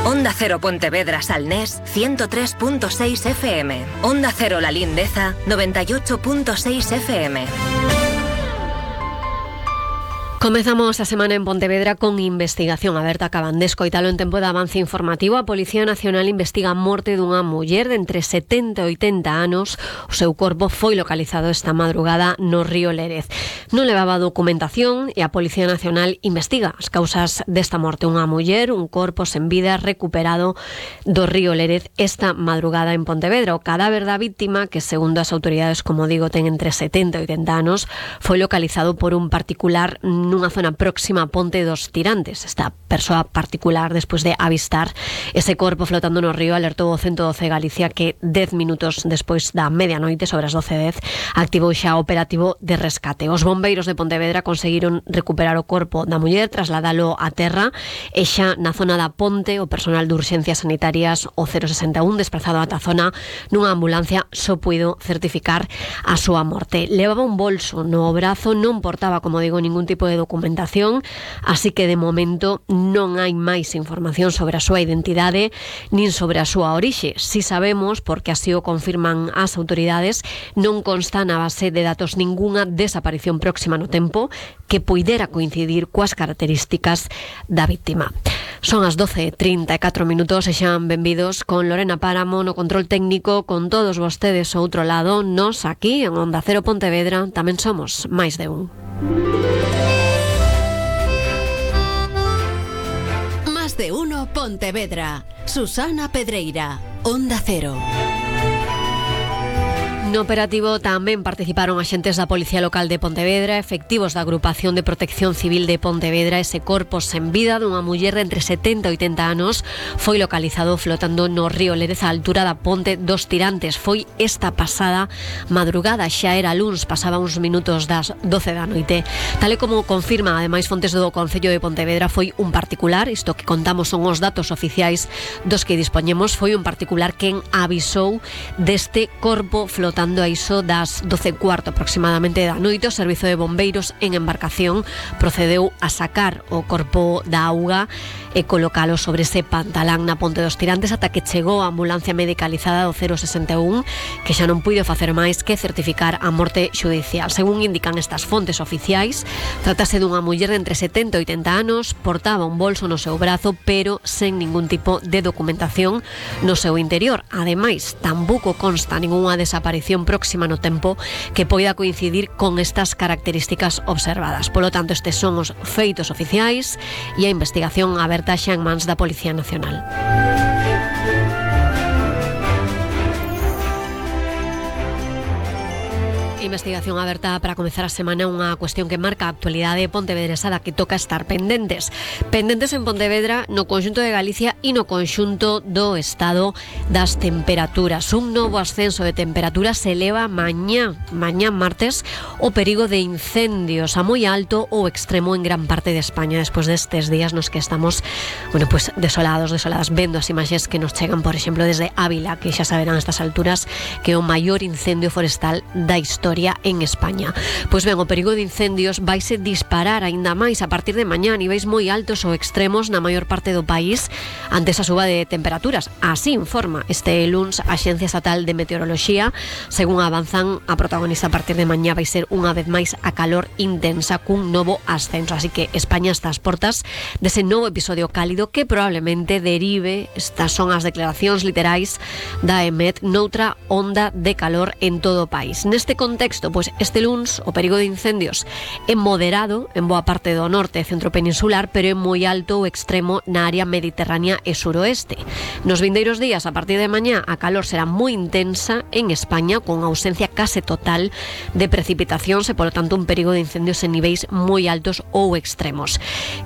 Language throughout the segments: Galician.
Onda Cero Pontevedra Salnés 103.6 FM. Onda Cero La Lindeza 98.6 FM. Comezamos a semana en Pontevedra con investigación aberta. Acaban de escoitalo en tempo de avance informativo. A Policía Nacional investiga a morte dunha muller de entre 70 e 80 anos. O seu corpo foi localizado esta madrugada no río Lérez. Non levaba documentación e a Policía Nacional investiga as causas desta morte. Unha muller, un corpo sen vida recuperado do río Lérez esta madrugada en Pontevedra. O cadáver da víctima, que segundo as autoridades, como digo, ten entre 70 e 80 anos, foi localizado por un particular nunha zona próxima a Ponte dos Tirantes. Esta persoa particular, despois de avistar ese corpo flotando no río, alertou o 112 Galicia que 10 minutos despois da medianoite, sobre as 12:10, activou xa o operativo de rescate. Os bombeiros de Pontevedra conseguiron recuperar o corpo da muller, trasladalo a terra, e xa na zona da Ponte o personal de urxencias sanitarias, o 061, desplazado ata a zona nunha ambulancia, só puido certificar a súa morte. Levaba un bolso no brazo, non portaba, como digo, ningún tipo de documentación, así que de momento non hai máis información sobre a súa identidade nin sobre a súa orixe. Si sabemos, porque así o confirman as autoridades, non consta na base de datos ningunha desaparición próxima no tempo que puidera coincidir coas características da víctima. Son as 12:34 minutos e xan benvidos con Lorena Páramo no control técnico, con todos vostedes ao outro lado. Nos aquí en Onda Cero Pontevedra tamén somos máis de un. Más de uno Pontevedra. Susana Pedreira, Onda Cero. No operativo tamén participaron axentes da Policía Local de Pontevedra, efectivos da Agrupación de Protección Civil de Pontevedra. Ese corpo sen vida dunha muller de entre 70 e 80 anos foi localizado flotando no río Lérez, á altura da Ponte dos Tirantes. Foi esta pasada madrugada, xa era luns, pasaba uns minutos das 12 da noite. Tal e como confirma ademais fontes do Concello de Pontevedra, foi un particular, isto que contamos son os datos oficiais dos que dispoñemos, foi un particular quen avisou deste corpo flotando a iso das 12:15 aproximadamente da noite. O Servizo de Bombeiros en embarcación procedeu a sacar o corpo da auga e colocalo sobre ese pantalán na Ponte dos Tirantes ata que chegou a ambulancia medicalizada do 061, que xa non puido facer máis que certificar a morte xudicial. Según indican estas fontes oficiais, tratase dunha muller de entre 70 e 80 anos, portaba un bolso no seu brazo, pero sen ningún tipo de documentación no seu interior. Ademais, tampouco consta ningunha desaparición próxima no tempo que poida coincidir con estas características observadas. Polo tanto, estes son os feitos oficiais e a investigación aberta xa en mans da Policía Nacional. Investigación aberta para comezar a semana, unha cuestión que marca a actualidade pontevedresa da que toca estar pendentes. Pendentes en Pontevedra, no conxunto de Galicia e no conxunto do estado das temperaturas. Un novo ascenso de temperaturas se eleva mañá martes, o perigo de incendios a moi alto ou extremo en gran parte de España, despois destes días nos que estamos, desoladas, vendo as imaxes que nos chegan, por exemplo, desde Ávila, que xa saberán a estas alturas que é o maior incendio forestal da historia en España. Pois ben, o perigo de incendios vaise disparar aínda máis a partir de mañá a niveis moi altos ou extremos na maior parte do país ante esa suba de temperaturas. Así informa este luns a Axencia Estatal de Meteoroloxía. Según avanzan, a protagonista a partir de mañá vai ser unha vez máis a calor intensa cun novo ascenso. Así que España está ás portas dese novo episodio cálido que probablemente derive, estas son as declaracións literais da EMET, noutra onda de calor en todo o país. Neste contexto, pois este luns o perigo de incendios é moderado en boa parte do norte e centro peninsular, pero é moi alto ou extremo na área mediterránea e suroeste. Nos vindeiros días, a partir de mañá, a calor será moi intensa en España, con ausencia case total de precipitacións e, polo tanto, un perigo de incendios en niveis moi altos ou extremos.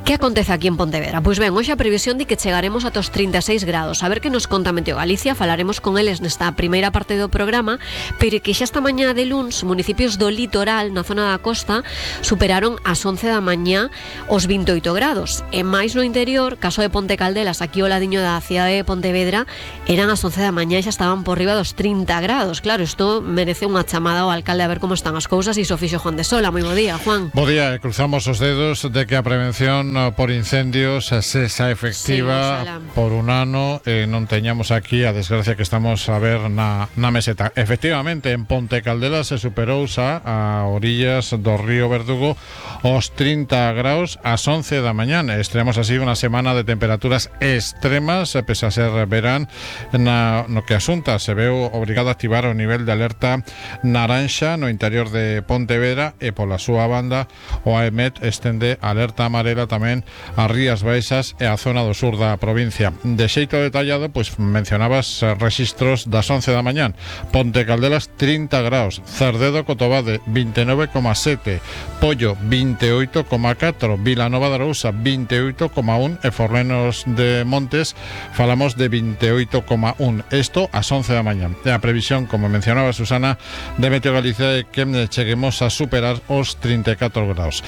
Que acontece aquí en Pontevedra? Pois ben, hoxe a previsión de que chegaremos ata os 36 grados. A ver que nos conta Meteo Galicia, falaremos con eles nesta primeira parte do programa, pero que xa esta mañá de luns nos municipios do litoral, na zona da costa, superaron as 11 da mañá os 28 grados. E máis no interior, caso de Ponte Caldelas, aquí ao ladiño da cidade de Pontevedra, eran as 11 da mañá e xa estaban por riba dos 30 grados. Claro, isto merece unha chamada ao alcalde a ver como están as cousas, e iso fixo Juan de Sola. Moi bo día, Juan. Bo día, cruzamos os dedos de que a prevención por incendios sexa efectiva, sí, por un ano, non teñamos aquí a desgracia que estamos a ver na meseta. Efectivamente, en Ponte Caldelas se superou xa a orillas do río Verdugo os 30 graus ás 11 da mañá. Estaremos así unha semana de temperaturas extremas, pese a ser verán. No que asunta, se veu obrigado a activar o nivel de alerta naranxa no interior de Pontevedra, e pola súa banda o AEMET estende alerta amarela tamén ás Rías Baixas e a zona do sur da provincia. De xeito detallado, pois mencionabas registros das 11 da mañán. Ponte Caldelas 30 graus, Cerdedo Cotobade 29,7, Pollo 28,4, Vilanova de Arousa 28,1 e Fornenos de Montes falamos de 28,1. Isto ás 11 da mañán. E a previsión, como mencionaba Susana, de Meteo Galicia é que cheguemos a superar os 34 graus.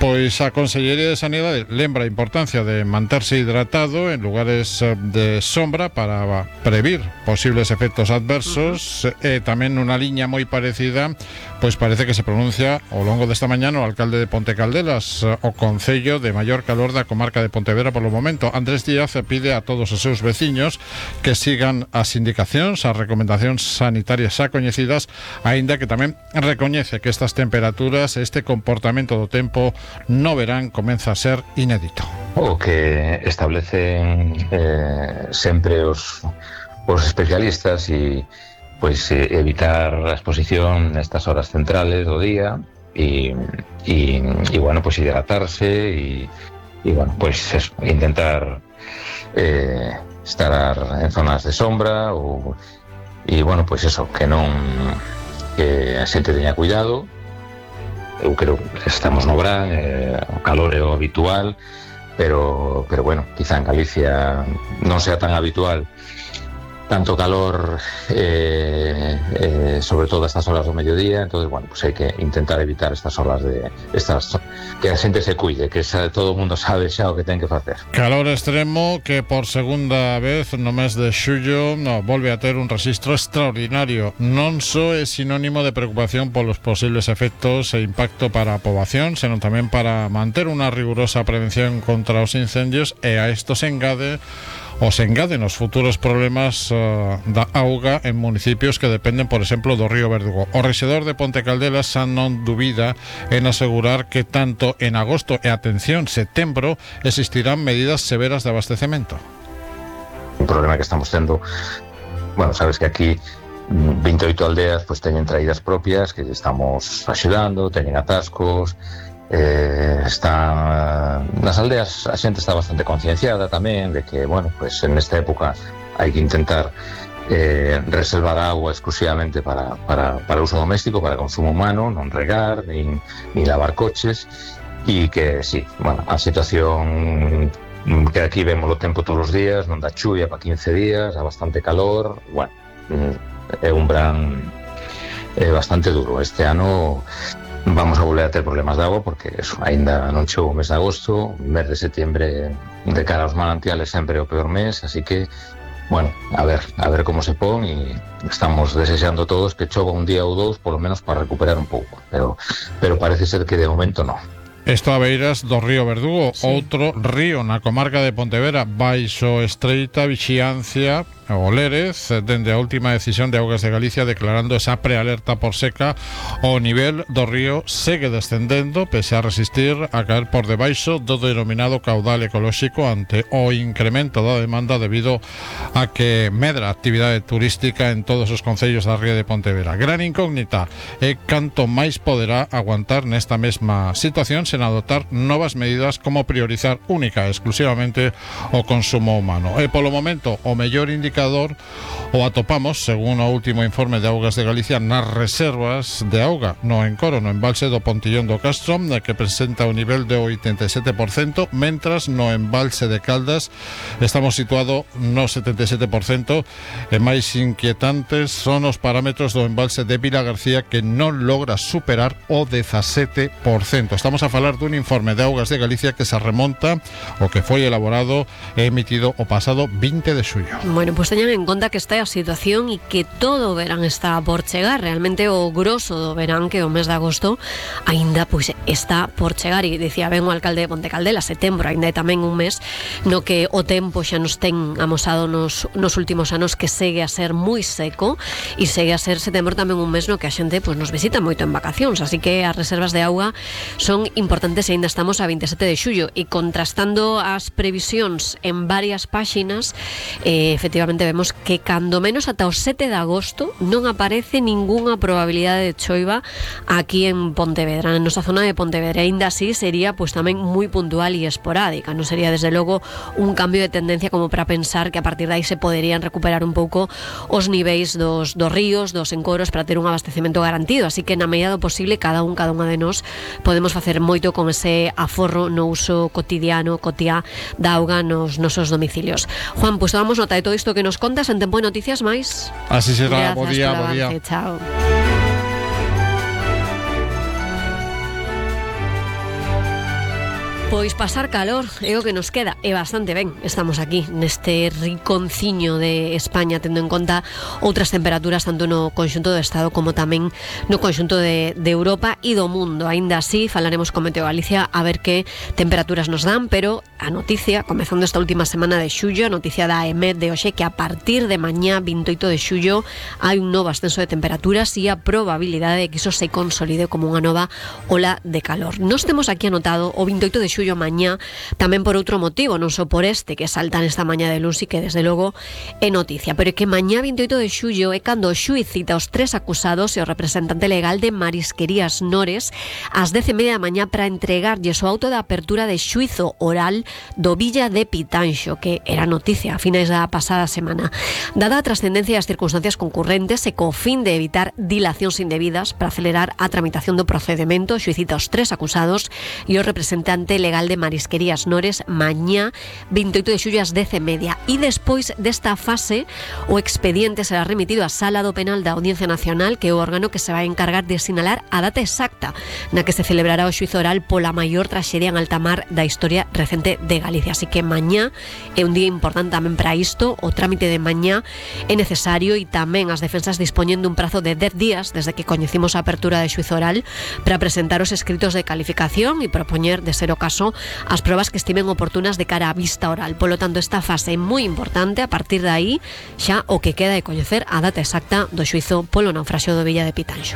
Pois a Consellería de Sanidade lembra a importancia de manterse hidratado en lugares de sombra para previr posibles efectos adversos, e tamén unha liña moi parecida, pois parece que se pronuncia ao longo desta mañá o alcalde de Ponte Caldelas, o concello de maior calor da comarca de Pontevedra polo momento. Andrés Díaz pide a todos os seus veciños que sigan as indicacións, as recomendacións sanitarias xa coñecidas, aínda que tamén recoñece que estas temperaturas, este comportamento do tempo no verán comeza a ser inédito. O que establecen sempre os especialistas e pois evitar a exposición nestas horas centrales do día e bueno, pois hidratarse e bueno, pois eso, intentar estar en zonas de sombra e bueno, pois eso, que a xente teña cuidado. Eu creo que estamos no verán, o calor é o habitual, pero bueno, quizá en Galicia non sea tan habitual tanto calor, sobre todo a estas horas do mediodía. Entonces, bueno, pues hai que intentar evitar estas horas que a xente se cuide, que todo o mundo sabe xa o que ten que facer. Calor extremo que por segunda vez no mes de xullo volve a ter un rexistro extraordinario. Non só é sinónimo de preocupación polos posibles efectos e impacto para a poboación, senón tamén para manter unha rigurosa prevención contra os incendios, e a isto se engaden os futuros problemas da auga en municipios que dependen, por exemplo, do río Verdugo. O rexedor de Ponte Caldelas xa non dubida en asegurar que tanto en agosto e, atención, setembro, existirán medidas severas de abastecemento. Un problema que estamos tendo, bueno, sabes que aquí 28 aldeas pues teñen traídas propias que estamos axudando, teñen atascos. Nas aldeas a xente está bastante concienciada tamén de que, bueno, pues en esta época hai que intentar reservar agua exclusivamente para uso doméstico, para consumo humano, non regar nin lavar coches, e que sí, bueno, a situación que aquí vemos o tempo todos os días, non dá chuvia para 15 días, dá bastante calor, bueno, é un verán bastante duro. Este ano vamos a volver a ter problemas de agua porque eso, aínda non chegou o mes de agosto, o mes de setembro de cara aos manantiales sempre é o peor mes, así que, bueno, a ver como se pon, e estamos desexando todos que chova un día ou dous, polo menos para recuperar un pouco, pero parece ser que de momento non. Isto a beiras do río Verdugo, sí. Outro río na comarca de Pontevedra, baixo estreita vixiancia o Lérez, dende a última decisión de Augas de Galicia declarando esa prealerta por seca. O nivel do río segue descendendo, pese a resistir a caer por debaixo do denominado caudal ecolóxico ante o incremento da demanda debido a que medra a actividade turística en todos os concellos da ría de Pontevedra. Gran incógnita é canto máis poderá aguantar nesta mesma situación sen adoptar novas medidas como priorizar única e exclusivamente o consumo humano. E polo momento o mellor indicador indicador o atopamos, según o último informe de Augas de Galicia, nas reservas de auga no encoro, no embalse do Pontillón do Castro, que presenta un nivel de 87%, mentras no embalse de Caldas estamos situado no 77%, e máis inquietantes son os parámetros do embalse de Vila García, que non logra superar o 17%. Estamos a falar dun informe de Augas de Galicia que se remonta o que foi elaborado e emitido o pasado 20 de xullo. Bueno, pues teñan en conta que esta é a situación e que todo o verán está por chegar. Realmente o grosso do verán, que o mes de agosto aínda pois está por chegar, e dicía ben o alcalde de Ponte Caldela, setembro aínda é tamén un mes no que o tempo xa nos ten amosado nos últimos anos que segue a ser moi seco, e segue a ser setembro tamén un mes no que a xente pois nos visita moito en vacacións, así que as reservas de auga son importantes e aínda estamos a 27 de xullo, e contrastando as previsións en varias páxinas, efectivamente vemos que cando menos ata o 7 de agosto non aparece ningunha probabilidade de choiva aquí en Pontevedra, na nosa zona de Pontevedra. Ainda así sería pois tamén moi puntual e esporádica, non sería desde logo un cambio de tendencia como para pensar que a partir de aí se poderían recuperar un pouco os niveis dos ríos, dos encoros, para ter un abastecemento garantido, así que na medida do posible cada unha de nós podemos facer moito con ese aforro no uso cotidiano, cotiá da auga nos nosos domicilios. Juan, pois tomamos nota de todo isto que nos contas en Tempo de Noticias máis. Así será, bo día. Chao. Pois pasar calor é o que nos queda, e bastante ben. Estamos aquí neste riconciño de España, tendo en conta outras temperaturas tanto no conxunto do Estado como tamén no conxunto de Europa e do mundo. Aínda así, falaremos con Meteo Galicia a ver que temperaturas nos dan, pero a noticia, comezando esta última semana de xullo, a noticia da EMET de hoxe, que a partir de mañá 28 de xullo hai un novo ascenso de temperaturas e a probabilidade de que iso se consolide como unha nova ola de calor. Nos temos aquí anotado o 28 de xullo mañá tamén por outro motivo, non só por este que salta nesta mañá de luz e que desde logo é noticia, pero é que mañá 28 de xullo é cando o xuíz cita os 3 acusados e o representante legal de Marisquerías Nores ás 10:30 da mañá para entregarlles o auto de apertura de xuízo oral do Villa de Pitanxo, que era noticia a finais da pasada semana. Dada a trascendencia e as circunstancias concurrentes e co fin de evitar dilacións indebidas para acelerar a tramitación do procedemento, o xuíz cita os 3 acusados e o representante legal de Marisquerías Nores mañá 28 de xullo ás 10:30, e despois desta fase o expediente será remitido á Sala do Penal da Audiencia Nacional, que é o órgano que se vai encargar de sinalar a data exacta na que se celebrará o xuízo oral pola maior traxedia en alta mar da historia recente de Galicia. Así que mañá é un día importante tamén para isto. O trámite de mañá é necesario e tamén as defensas dispoñen dun prazo de 10 días desde que coñecimos a apertura de xuízo oral para presentar os escritos de calificación e propoñer, de ser o caso, as probas que estimen oportunas de cara á vista oral. Polo tanto, esta fase é moi importante. A partir de aí, xa o que queda é coñecer a data exacta do xuízo polo naufraxio do Villa de Pitanxo.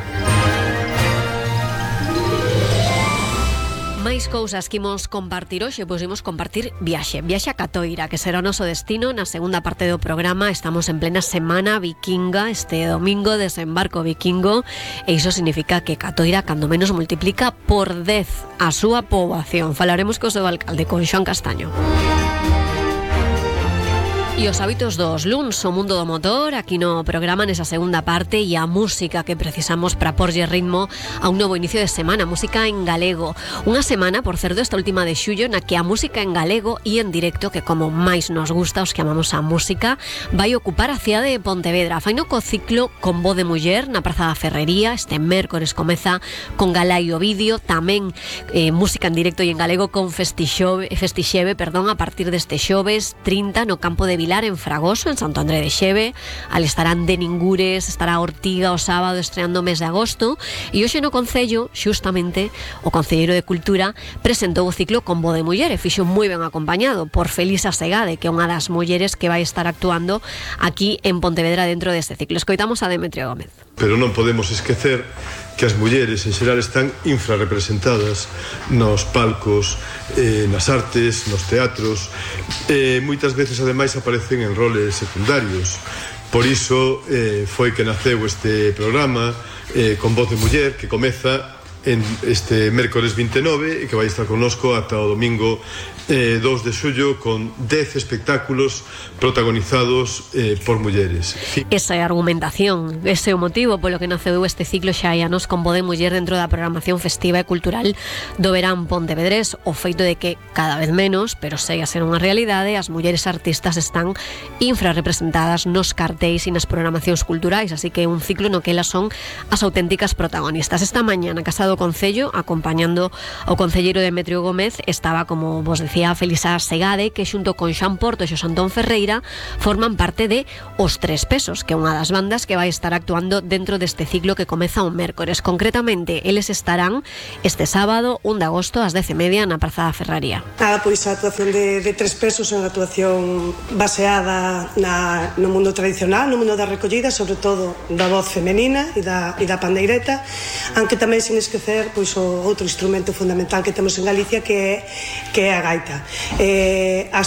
Máis cousas que imos compartir hoxe, pois imos compartir viaxe a Catoira, que será o noso destino na segunda parte do programa. Estamos en plena semana vikinga, este domingo desembarco vikingo, e iso significa que Catoira cando menos multiplica por 10 a súa poboación. Falaremos co seu alcalde, con Xoán Castaño. E os hábitos dos luns, o mundo do motor, aquí no programa nesa segunda parte, e a música que precisamos para porlle ritmo a un novo inicio de semana, música en galego. Unha semana, por certo, esta última de xullo, na que a música en galego e en directo, que como máis nos gusta os que amamos a música, vai ocupar a cidade de Pontevedra. Faino co ciclo Con Voz de Muller na Praza da Ferrería. Este mércores comeza con Galá e Ovidio, tamén música en directo e en galego con Festixeve, a partir deste xoves 30 no campo de Vilar, en Fragoso, en Santo André de Xeve. Ali estarán de Ningures, estará Ortiga o sábado estreando o mes de agosto, e hoxe no Concello, xustamente, o Concelleiro de Cultura presentou o ciclo Con Voz de Muller e fixo moi ben acompañado por Felisa Segade, que é unha das mulleres que vai estar actuando aquí en Pontevedra dentro deste ciclo. Escoitamos a Demetrio Gómez. Pero non podemos esquecer que as mulleres en xeral están infrarrepresentadas nos palcos, nas artes, nos teatros, moitas veces ademais aparecen en roles secundarios. Por iso foi que naceu este programa Con Voz de Muller, que comeza este mércores 29 e que vai estar connosco ata o domingo 2 de xullo con 10 espectáculos protagonizados por mulleres. Esa é a argumentación, ese é o motivo polo que naceu este ciclo xa hai anos con voz de muller dentro da programación festiva e cultural do verán pontevedrés. O feito de que cada vez menos, pero segue a ser unha realidade, as mulleres artistas están infrarrepresentadas nos cartéis e nas programacións culturais, así que é un ciclo no que elas son as auténticas protagonistas. Esta mañá na Casa do Concello, acompañando ao concelleiro Demetrio Gómez, estaba, como vos decía, Felisa Segade, que xunto con Xan Porto e Xosé Antón Ferreira forman parte de Os Tres Pesos, que é unha das bandas que vai estar actuando dentro deste ciclo que comeza o mércores. Concretamente, eles estarán este sábado, 1 de agosto, ás 10:30 na Praza da Ferraría. Nada, pois a actuación de Tres Pesos é unha actuación baseada no mundo tradicional, no mundo da recollida, sobre todo da voz femenina e da pandeireta, aunque tamén sin esquecer pois o outro instrumento fundamental que temos en Galicia que é a gaita. As